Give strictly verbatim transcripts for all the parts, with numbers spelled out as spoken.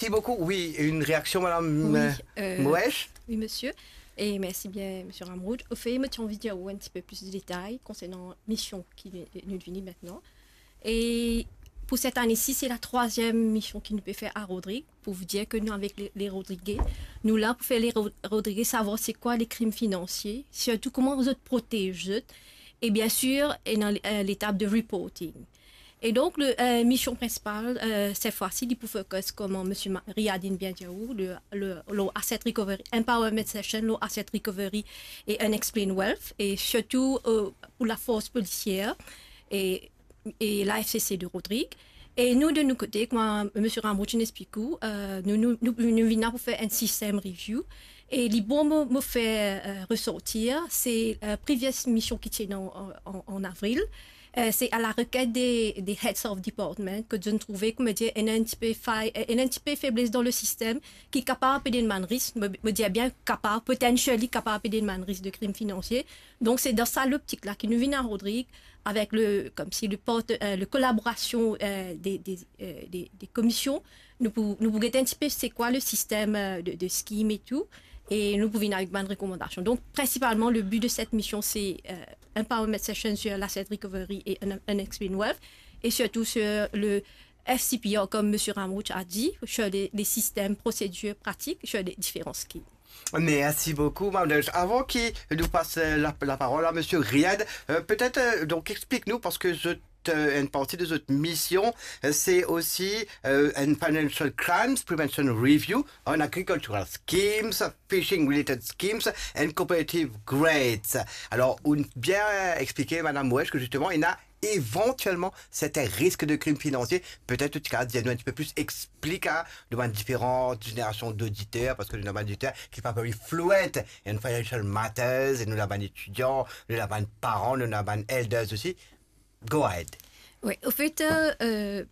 Merci beaucoup. Oui, une réaction, Madame, Oui, euh, euh, Moesh ? Oui, monsieur. Et merci bien, monsieur Ramrood. Au fait, moi, j'ai envie de dire un petit peu plus de détails concernant la mission qui nous vient maintenant. Et pour cette année-ci, c'est la troisième mission qui nous peut faire à Rodrigue, pour vous dire que nous, avec les, les Rodriguais, nous là pour faire les Ro- Rodriguais savoir c'est quoi les crimes financiers, surtout comment vous êtes protégés, et bien sûr, et dans euh, l'étape de reporting. Et donc, le euh, mission principale, euh, cette fois-ci, li pou focus, comme monsieur Ma- Riyad inn bien dir, le, le, le asset recovery, empowerment session, le asset recovery et unexplained wealth, et surtout euh, pour la force policière et, et la F C C de Rodrigue. Et nous, de notre côté, comme monsieur Ramrood inn explik ou, euh, nous, nous, nous, nous venons pour faire un système review. Et li bon mo, mo faire euh, ressortir, c'est euh, previous mission qui était en, en, en avril. Euh, c'est à la requête des, des heads of department que je trouvais, comme dire, il y a un petit peu faille, il y a un petit peu faiblesse dans le système qui est capable de demander risque, me, me dire bien capable, potentially capable de demander risque de crime financier. Donc c'est dans ça l'optique-là qui nous vient à Rodrigue avec le, comme si le porte, euh, le collaboration euh, des, des, euh, des, des commissions. Nous pou, nous pou gete un petit peu c'est quoi le système euh, de, de scheme et tout. Et nous pou venir avec une recommandation. Donc, principalement, le but de cette mission, c'est euh, empowerment session sur l'asset recovery et un, un explain wealth, et surtout sur le F C P R, comme monsieur Ramrood a dit, sur les, les systèmes, procédures, pratiques, sur les différents schemes. Merci beaucoup, Madame Moesh. Avant que nous passe euh, la, la parole à Monsieur Riyad, euh, peut-être euh, donc explique-nous, parce que je euh, une partie de votre mission, euh, c'est aussi euh, un financial crimes prevention review on agricultural schemes, fishing related schemes and cooperative grants. Alors, on bien expliqué, Madame Moesh, que justement, il y a éventuellement certains risques de crimes financiers. Peut-être tu as dit un petit peu plus expliqué devant différentes générations d'auditeurs, parce que nous avons des auditeurs qui sont pas very fluent in financial matters, et nous avons des étudiants, nous avons des parents, nous avons des elders aussi. Go ahead. Oui, au fait, euh, euh,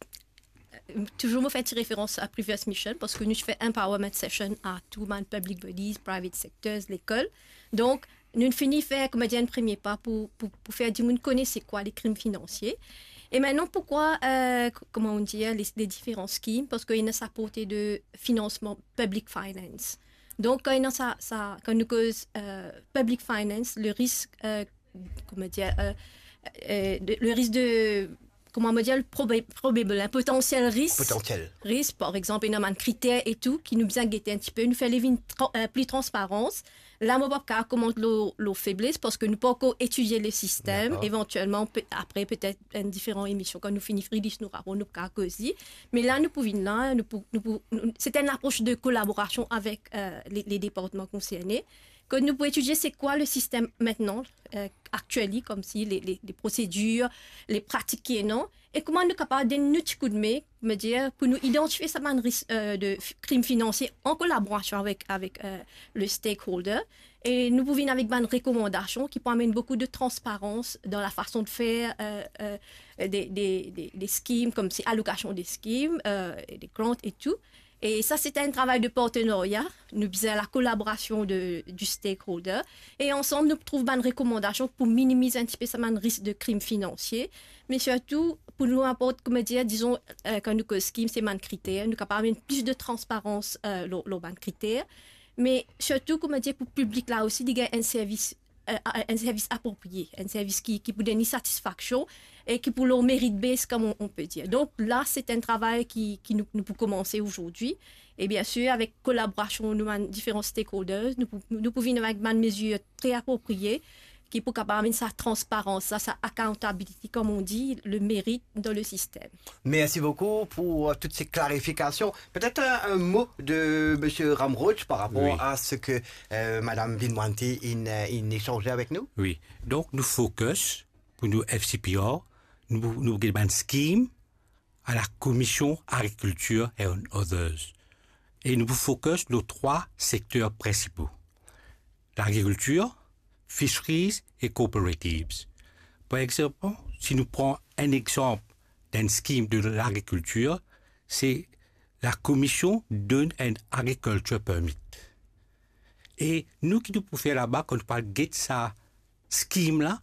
toujours mo fais une référence à previous mission parce que nous fait empowerment session à tout le monde, public bodies, private sectors, l'école. Donc, nous finissons faire, comme dire, un premier pas pour, pour, pour faire du monde connaître c'est quoi les crimes financiers. Et maintenant, pourquoi, euh, comment on dit, les, les différents schemes ? Parce qu'il y a sa portée de financement public finance. Donc, quand, il y a ça, ça, quand nous cause euh, public finance, le risque euh, comment dire, euh, euh, de, le risque de, comment me dire, le probable, probable, un potentiel risque. Potentiel. Risque, par exemple, il y a un critère et tout, qui nous vient guetter un petit peu, nous fait les vignes tra- euh, plus transparence. Là, mon papa comment le, le faiblesse, parce que nous pas encore étudié le système. D'accord. Éventuellement, peut- après, peut-être une différente émission, quand nous finissons, nous avons nous aussi. Mais là, nous pouvons là, nous, pou- nous, pou- nous- c'est une approche de collaboration avec euh, les, les départements concernés. Que nous pouvons étudier c'est quoi le système maintenant, euh, actuel, comme si les, les, les procédures, les pratiques qui est non, et comment nous sommes capables de nous donner un petit coup de main, me dire, pour nous identifier ce risque euh, de f- crime financier en collaboration avec, avec euh, le stakeholder. Et nous pouvons venir avec une recommandation qui peut amener beaucoup de transparence dans la façon de faire euh, euh, des, des, des, des schemes, comme c'est allocation des schemes, euh, et des grants et tout. Et ça, c'est un travail de partenariat. Nous avons la collaboration de, du stakeholder. Et ensemble, nous trouvons une recommandation pour minimiser un petit peu ce risque de crime financier. Mais surtout, pour nous apporter, comme dire, disons, euh, quand nous avons scheme, c'est un critère. Nous avons plus de transparence euh, dans, dans un critère. Mais surtout, comme dire, pour le public là aussi, il y a un service euh, un service approprié, un service qui, qui peut donner satisfaction et qui peut le mérite base, comme on, on peut dire. Donc là, c'est un travail qui, qui nous, nous peut commencer aujourd'hui. Et bien sûr, avec collaboration de différents stakeholders, nous, pou- nous pouvons venir avec des mesures très appropriées qui pour capable amener sa transparence, sa, sa accountability, comme on dit, le mérite dans le système. Merci beaucoup pour euh, toutes ces clarifications. Peut-être un, un mot de Monsieur Ramrood par rapport Oui. à ce que euh, Madame Vinwanti in, euh, in échangeait avec nous. Oui. Donk, nou focus pou nou F C P R, nou, nou gagn bann scheme à la Commission Agriculture and Others. E nou pou focus lor trwa sekter prinsipo. L'agriculture, fisheries e cooperatives. Par exemple, si nou pran enn examp d'enn scheme de l'agriculture, c'est la commission donne un agriculture permit. E nou ki nou pou fer laba, kan nou pou al get sa scheme la,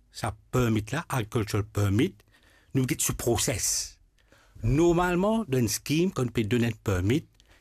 sa permit la, agriculture permit, nou get so process. Normalman, dan enn scheme, kan nou pe donn enn permit,